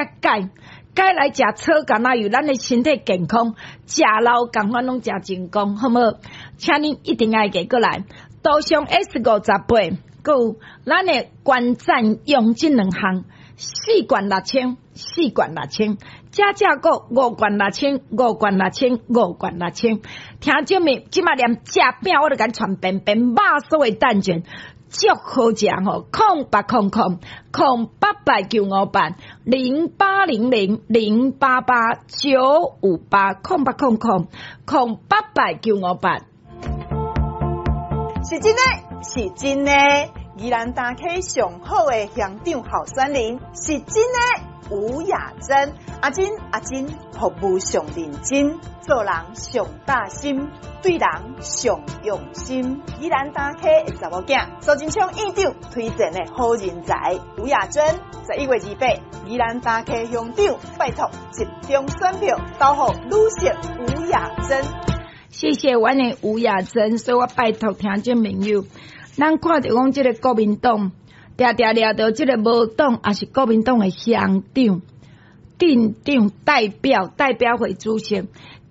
鈣，鈣來食草橄欖油，咱的身體健康，食老仝款攏誠成功，好無？請恁一定愛過來，杜尚 S 58，閣有咱的觀讚用這兩項，四罐六千，四罐六千，加價購五罐六千，五罐六千，五罐六千。聽眾們，這馬連食餅我都共你傳便便，肉酥的蛋卷。足好食吼，0800 00 0800 958，0800 0958 0800 00 0800 958。是真的，是真的，宜蘭大溪上好的鄉長候選人是真的。吳雅珍，阿珍阿珍，服務上認真，做人上貼心，對人上用心。宜蘭大溪的查某囝，蘇貞昌院長推薦的好人才，吳雅珍，11月28，宜蘭大溪鄉長，拜託集中選票投予女性吳雅珍。謝謝阮的吳雅珍，所以我拜託聽眾朋友，咱看著講這个國民黨。定定掠著這个無黨，抑是國民黨的鄉長、鎮長代表、代表會主席，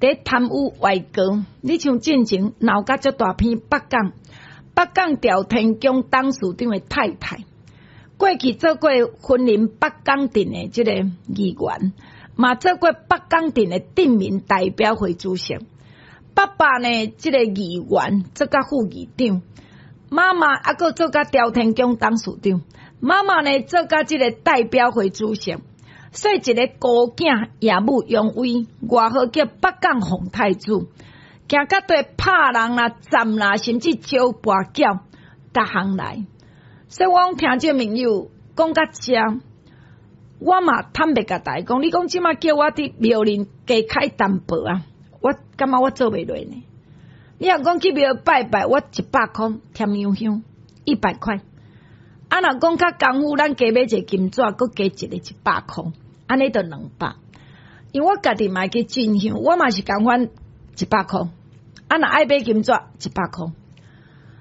佇貪污外國。你像進前鬧甲足大篇北港，北港朝天宮董事長的太太，過去做過雲林北港鎮的這个議員，嘛做過北港鎮的鎮民代表會主席。爸爸呢，這个議員做甲副議長。媽媽猶閣做甲朝天宮董事長，媽媽呢做甲這个代表會主席，所以一个孤囝耀武揚威，外號叫北港洪太子，行甲對拍人啦、斬啦，甚至招跋筊，逐項來。所以我講聽眾朋友講甲遮，我嘛坦白共大家講，你講這馬叫我佇廟裡加開淡薄啊，我感覺我做袂落呢。你若講去廟拜拜，我一百箍添香香，100塊。啊，若講較功夫，咱加買一个金紙，閣加一個一百箍，按呢就200。因為我家己嘛會去進香，我嘛是仝款一百箍。啊，若愛買金紙，一百箍。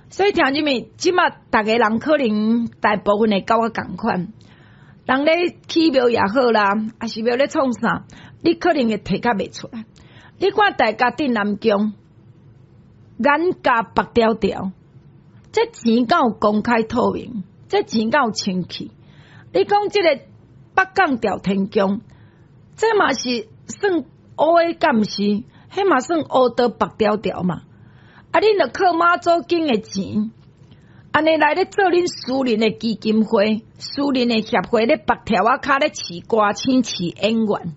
所以聽入面，這馬逐个人可能大部分會佮我仝款。人咧起廟也好啦，抑是廟咧創啥，你可能會提較袂出來。你看大家鎮南宮。眼界白條條，這錢敢有公開透明？這錢敢有清氣？你講這个北港朝天宮，這嘛是算烏的，敢毋是？彼嘛算烏道白條條嘛？啊，恁著靠媽祖經的錢，按呢來咧做恁私人的基金會、私人的協會咧白條仔跤咧飼歌星、飼演員，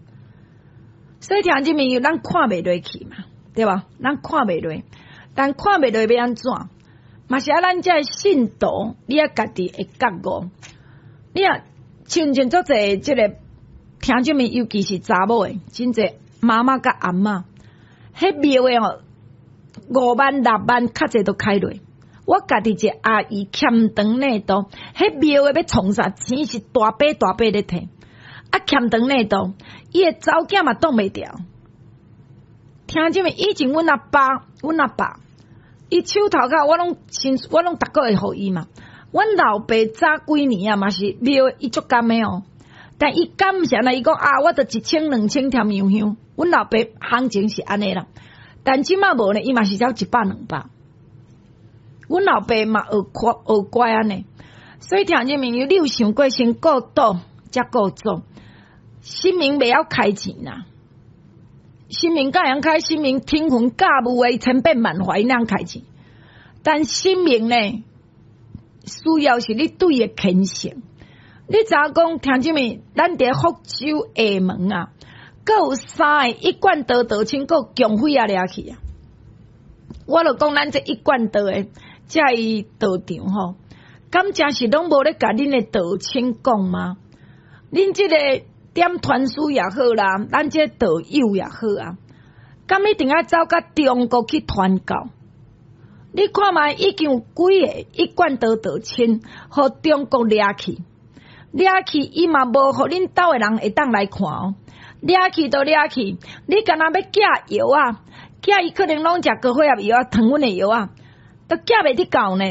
所以聽這物咱看袂落去嘛，對無？咱看袂落。但看袂落欲按怎？嘛是愛咱這信徒，你愛家己會覺悟。你若像像足濟這个聽眾們，尤其是查某的，真濟媽媽佮阿嬤，彼廟的吼5萬六萬較濟都開落。我家己一个阿姨欠長領度，彼廟的欲創啥錢是大筆大筆咧提，啊欠長領度，伊的查某囝嘛擋袂牢。聽眾們，以前阮阿爸，阮阿爸。伊手頭殼，我攏先，我攏逐個月予伊嘛。阮老爸早幾年啊，嘛是廟伊足甘的哦。但伊甘是按呢？伊講啊，我著一千兩千添香香。阮老爸行情是按呢啦，但這馬無呢，伊嘛是才一百兩百。阮老爸嘛學乖學乖按呢，所以聽眾朋友，你有想過先顧倒，才顧祖？神明袂曉開錢啦。神明敢會曉開？神明騰雲駕霧的千變萬化，伊哪開錢？但神明呢，需要是你對伊的虔誠。你知影講聽啥物？咱佇福州廈門啊，閣有三個一貫道道親，閣有共匪仔掠去啊！我就講咱這一貫道的這个道場吼，敢誠是攏無咧共恁的道親講嗎？恁這个點團書也好啦，咱這道友也好啊，敢一定愛走到中國去傳教？你看覓已經有幾个一貫道道親，予中國掠去，掠去伊嘛無予恁兜的人會當來看哦。掠去就掠去，你敢若欲寄藥啊？寄伊可能攏食高血壓藥啊、糖分的藥啊，都寄袂得到呢。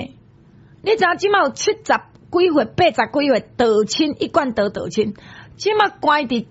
你知影這馬有七十幾歲、八十幾歲道親，一貫道道親，這馬關佇